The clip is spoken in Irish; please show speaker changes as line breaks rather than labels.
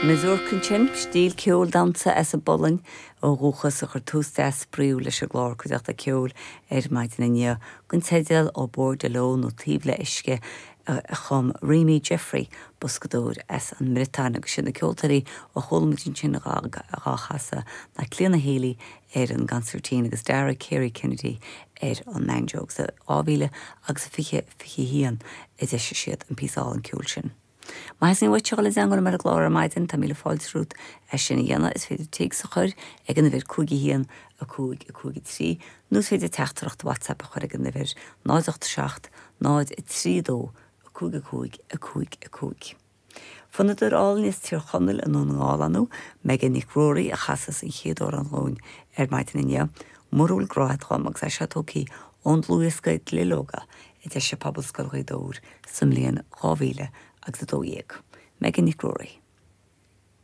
Mazurka ansin, stíl ceoil damhsa as an bPolainn ó dhúchas a chuir tús deas spraíúil leis an gclár Cuideachta Ceoil ar maidin inniu, den teideal Au Bord de l'Eau nó Taobh le Uisce a chum Rémi Jeffrey, boscadóir as an mBriotáin agus siad na ceoltóirí a chuala muid ansin dhá chasadh ná Clíona Healy ar an gconsairtín agus Dara Carey Kennedy ar an mbanjo agus i 2000 agus 20, 21 a d'eisigh siad an píosa álainn ceoil sin. Má theastaíonn uait a dhul i dteangmháil liom ar an gclár ar maidin, tá míle fáilte romhat é sin a dhéanamh. Is féidir téacs a chur ag an uimhir 5 1 5 5 3 nó is féidir teachtaireacht WhatsApp a chur ag an uimhir 0 8 7 0 3 2 5 5 5 5. Fonnadóir álainn as Tír Chonaill i nDún na nGall ar ndóigh, Megan Nic Ruairí, a chasas an chéad amhrán dhúinn ar maidin inniu, Mura bhfuil grá agat dhom, agus é seo tógtha ón dlúthdhiosca Duilleoga a d'eisigh Pobalscoil Ghaoth Dobhair sa mbliain 2012. Megan Nic Ruairí.